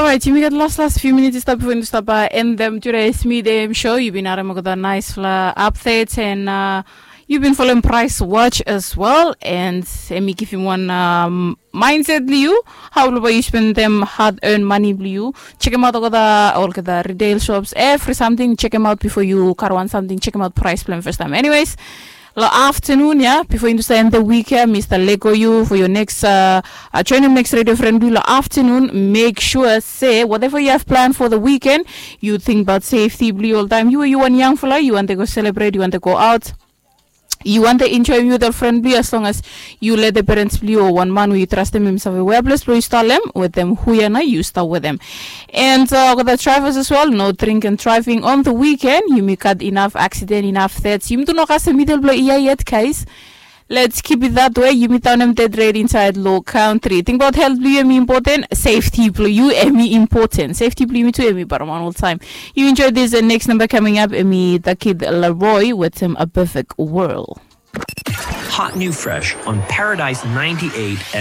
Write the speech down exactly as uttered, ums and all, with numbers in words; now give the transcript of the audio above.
Orait, yumi gat las las fiu minit i stap bifo yumi stap endem tude smidem show. Yu bin harem olgeta naispela updates and uh, yu bin folem Price Watch as well, and em i givim wan um, mindset blo yu, hau blo bai yu spendem hard earned money blo yu. Chekem aut olgeta olgeta retail shops, every something chekem aut before yu karawan something, chekem aut price blo em first time. Anyways, lo afternoon ya, before you understand the week ya, Mr. Lego you for your next uh, uh, join him next radio friend blo lo afternoon. Make sure say whatever you have planned for the weekend, you think about safety blo you all time. You you one young fella, you want to go celebrate, you want to go out. You want to enjoy with your friend blo you, as long as you let the parents blo you or one man who you trust them himself a wear place blo you start them with them who you know you start with them. And uh, the drivers as well, no drink and driving on the weekend. You may cut enough accident, enough threats. You do not cast a middle blo iya yet, guys. Let's keep it that way. You meet on them dead red inside low country. Think about health blo you, important. Safety blo you, important. Safety blo you too, emi paramount all time. You enjoy this uh, next number coming up, emi the kid Leroy with him a perfect world. Hot new fresh on Paradise ninety-eight.